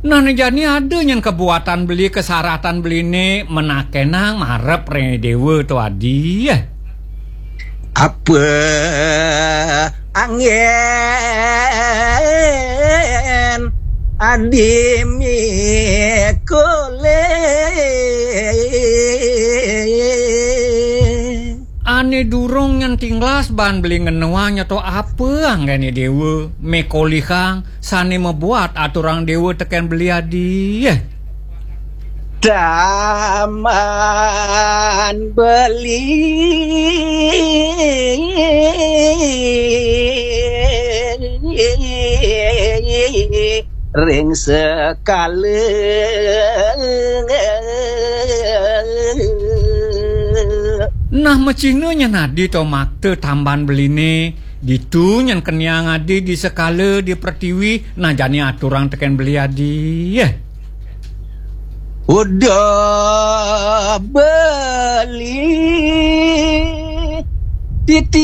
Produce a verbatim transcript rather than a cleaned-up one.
Nah, né jani ada nyén kabuatan beli, kasaratan beliné, menakénang marep ring déwa to adi. Apa anggén adi mikolih? Ané durung nyén tinglas baan beli ngenéwang nyeto apa anggéné déwa mikolihang sané mabuat aturang déwa tekén beli adi. Taman beli ring sekala. Nah, macihna nyén adi to makta tamban beliné, ditu nyén keniang adi di sekala di pertiwi, nah jani aturang tekén beli adi. Udah beli titi